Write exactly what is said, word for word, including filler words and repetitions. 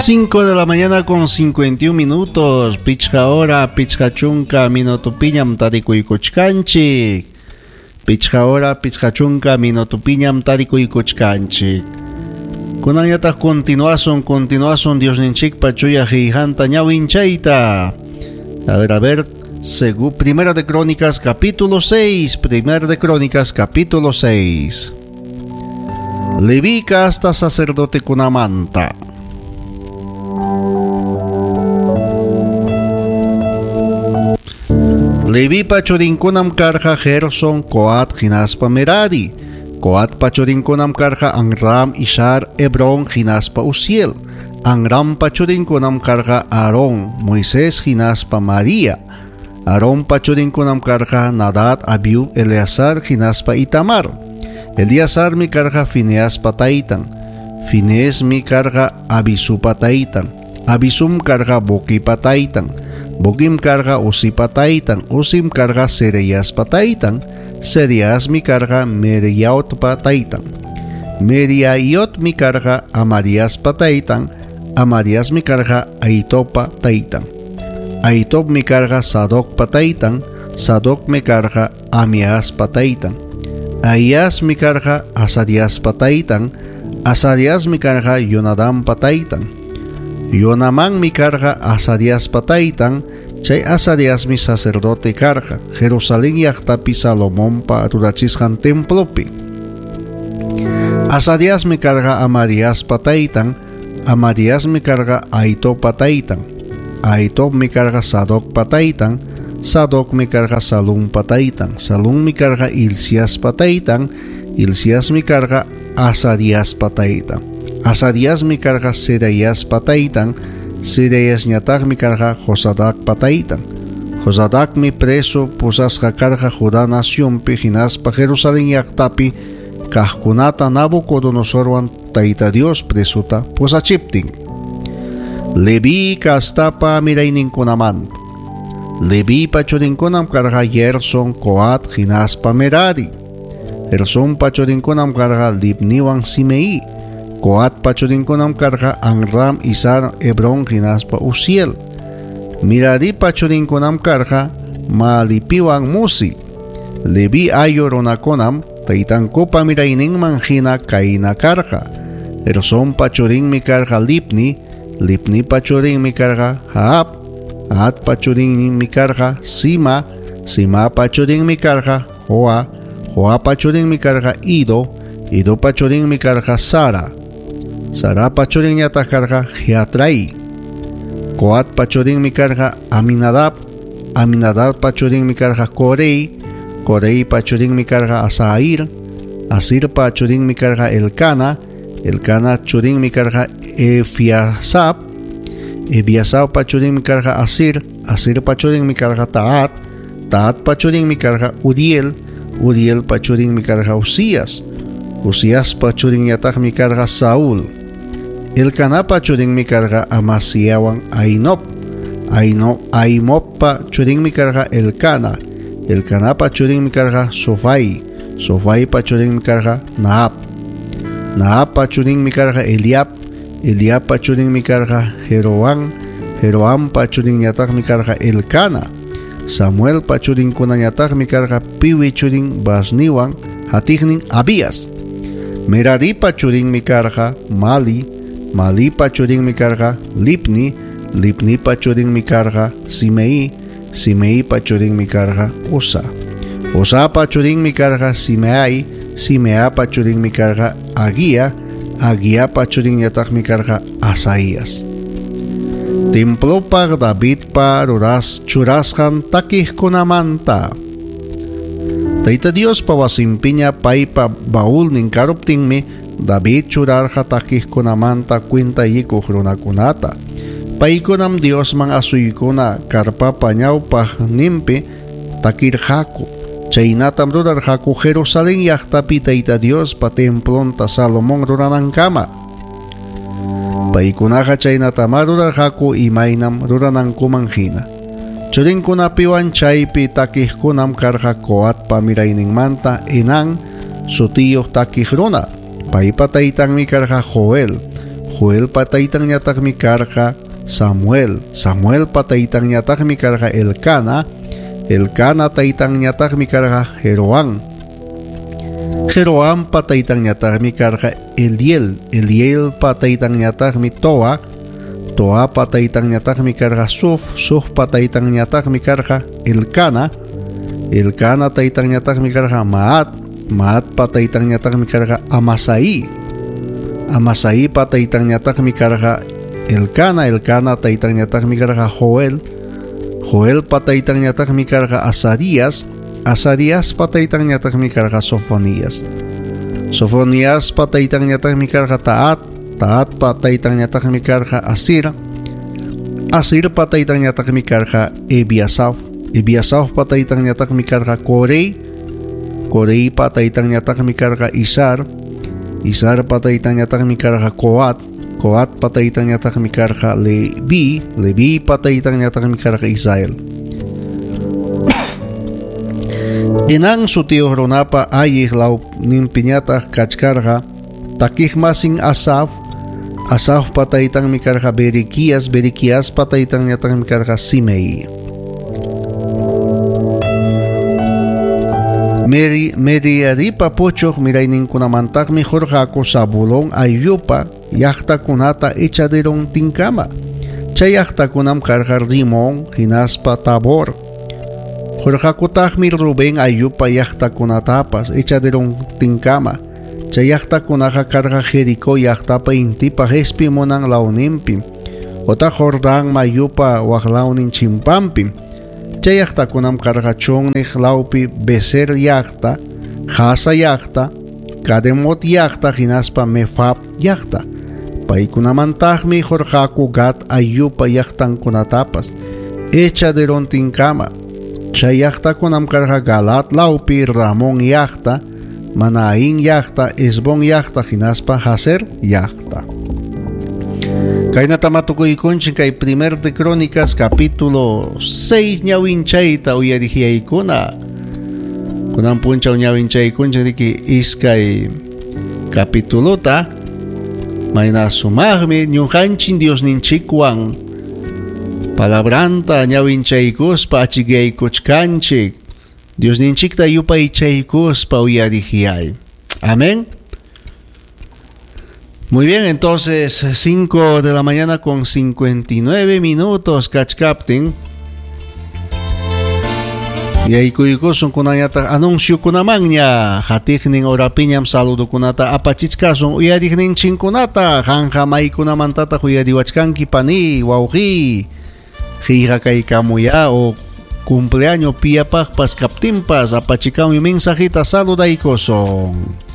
Cinco de la mañana con cincuenta y un minutos. Pichqa hora, pichqa chunka minutupiñam tarikuykuchkanchik. Pichqa hora, pichqa chunka minutupiñam tarikuykuchkanchik. Kunanñataq continuasun, continuasun Diosninchikpa chuya qillqanta ñawinchayta. A ver, a ver, según Primera de Crónicas capítulo seis, Primera de Crónicas capítulo seis. Leví casta sacerdote kunamanta. Levipa churinkunam karqa Gerson, Coat hinaspa Merari. Coatpa churinkunam karqa Amram, Ishar, Hebrón hinaspa Uziel. Amrampa churinkunam karqa Aarón, Moisés hinaspa María. Aarónpa churinkunam karqa Nadab, Abiú, Eleazar hinaspa Itamar. Eleazarmi karqa Fineaspa taytan. Fineesmi karqa Abisupa taytan. Abisum karqa Boquipa taytan. Boquim karqa Uzipa taytan. Uzim karqa Sereyaspa taytan. Sereyasmi karqa Meriaotpa taytan. Meriaiotmi karqa Amariaspa taytan. Amariasmi karqa Aitopa taytan. Aitopmi karqa Sadocpa taytan. Sadocmi karqa Amiaspa taytan. Ahiasmi karqa Azariaspa taytan. Azariasmi karqa Yonadampa taytan. Yonamanmi karqa Azariaspa taytan. Chay Azariasmi sacerdote karqa Jerusalén llaqtapi Salomonpa rurachisqan templopi. Azariasmi karqa Amariaspa taytan. Amariasmi karqa Aitopa taytan. Aitopmi karqa Sadocpa taytan. Sadocmi karqa Salumpa taytan. Salummi karqa Hilciaspa taytan. Hilciasmi karqa Azariaspa taytan. Azariasmi karqa Seraiaspa taytan. Seraiasñataqmi karqa Josadacpa taytan. Josadacmi preso pusasqa karqa Judá nacionpi hinaspa Jerusalén llaqtapi kaqkunata Nabucodonosorwan Tayta Dios presuta pusachiptin. Leví kastapa mirayninkunamanta. Levipa churinkunam karqa Gerson, Coat hinaspa Merari. Gersonpa churinkunam karqa Libniwan Simei. Coatpa churinkunam karqa Amram, Izar, Hebrón hinaspa Uziel. Meraripa churinkunam karqa Malipiwan Musi. Leví ayllu runakunam taytankupa mirayninman hina kayna karqa. Gersonpa churinmi karqa Libni, Libnipa churinmi karqa Jaab, Jaabpa churinmi karqa Sima, Simapa churinmi karqa Joa, Joapa churinmi karqa Ido, Idopa churinmi karqa Sara. Sarapa churinñataq karqa Jeatrai. Coatpa churinmi karqa Aminadab, Aminadabpa churinmi karqa Corei, Coreipa churinmi karqa Asair, Asirpa churinmi karqa Elcana, Elcana churinmi karqa Efiasap, Ebiasappa churinmi karqa Asir, Asirpa churinmi karqa Taat, Taatpa churinmi karqa Uriel, Urielpa churinmi karqa Usías, Uziaspa churinñataqmi karqa Saúl. Elcanapa churinmi karqa Amasiawan Ainop, Aino, Aimoppa churinmi karqa Elcana, Elcanapa churinmi karqa Sofai, Sofaipa churinmi karqa Naab, Naabpa churinmi karqa Eliab, Eliabpa churinmi karqa Jeroán, Jeroampa churinñataqmi karqa Elcana, Samuelpa churinkunañataqmi karqa Piwi churin Basniwan hatiqnin Abías. Meraripa churinmi karqa Mali, Malipa churinmi karqa Libni, Libnipa churinmi karqa Simei, Simeipa churinmi karqa Uza. Uzapa churinmi karqa Simeai, Simeapa churinmi karqa Aguía, Aguiapa churinñataqmi karqa Asaías. Templopaq Davidpa ruras churasqan takiqkunamanta. Tayta Diospa wasinpiña paypa baulnin karuptinmi David churarqa takiqkunamanta kwintayikuq runakunata. Paykunam Diosman asuykuna karpapa ñawpaqninpi takirqaku. Chaynatam rurarqaku Jerusalén llaqtapi Tayta Diospa templonta Salomón ruranankama. Paykunaqa chaynatamá rurarqaku imaynam ruranankuman hina. Churinkunapiwan chaypi takiqkunam karqa Coatpa mirayninmanta Enán sutiyuq takiq runa. Paypa taytanmi karqa Joel. Joelpa taytanñataqmi karqa Samuel, Samuelpa taytanñataqmi karqa Elcana, Elcana taytanñataqmi karqa Jeroán, Jeroampa taytanñataqmi karqa Eliel, Elielpa taytanñataqmi Toa, Toapa taytanñataqmi karqa Suf, Sufpa taytanñataqmi karqa Elcana, Elcana taytanñataqmi karqa Maat, Maatpa taytanñataqmi karqa Amasai, Amasaipa taytanñataqmi karqa Elcana, Elcana taytanñataqmi karqa Joel, Joelpa taytanñataqmi karqa Azarías, Azaríaspa taytanñataqmi karqa Sofonías, Sofoníaspa taytanñataqmi karqa Taat, Taatpa taytanñataqmi karqa Asir, Asirpa taytanñataqmi karqa Ebiasaf, Ebiasafpa taytanñataqmi karqa Corey, Coreypa taytanñataqmi karqa Isar, Isarpa taytanñataqmi karqa Coat, Coatpa taytanñataqmi karqa Leví, Levipa taytanñataqmi karqa Israel. Enan sutiyuq runapa alliq lawninpiñataq kachkarqa takiqmasin Asaf, Asafpa taytanmi karqa Berequías, Berequiaspa taytanñataqmi karqa Simei. Meri, Meraripa puchuq mirayninkunamantaqmi qurqaku Zabulón ayllupa llaqtakunata echaderontinkama. Chay llaqtakunam karqa Rimón hinaspa Tabor. Qurqakutaqmi Rubén ayllupa llaqtakunatapas echaderontinkama. Chay llaqtakunaqa karqa Jericó llaqtapa intipa qespimunan lawninpim, otaq Jordán mayupa waqlawnin chimpanpim. Chay llaqtakunam karqa chunniq lawpi Bezer llaqta, Jasa llaqta, Kademot llaqta hinaspa Mefab llaqta. Paykunamantaqmi qurqaku Gad ayllupa llaqtankunatapas echaderontinkama. Chay llaqtakunam karqa Galat lawpi Ramón llaqta, Manaín llaqta, Esbón llaqta hinaspa Jazer llaqta. Kaynata matukuykunchik kay Primer de Crónicas capítulo seis ñawinchayta uyarihiyaykuna. Kunan punchaw ñawinchaykunchik riki iskay capitulota. Mayna sumaqmi ñuqanchik Diosninchikwan palabranta ñawinchaykuspa achikyaykuchkanchik. Diosninchikta yupaychaykuspa uyarihiyay. Amén. Muy bien, entonces cinco de la mañana con cincuenta y nueve minutos, kachkaptin. Yaykuykusun kunayata anunciokunamanña, hatiqnin orapiñam saludukunata apachichkasun uyariqninchinkunata, qanqa maykunamantataq uyariwachkanki pani, wawqi, qillqakaykamuya o cumpleaños piyapaqpas kaptinpas apachikamuy mensajita saludaykusun.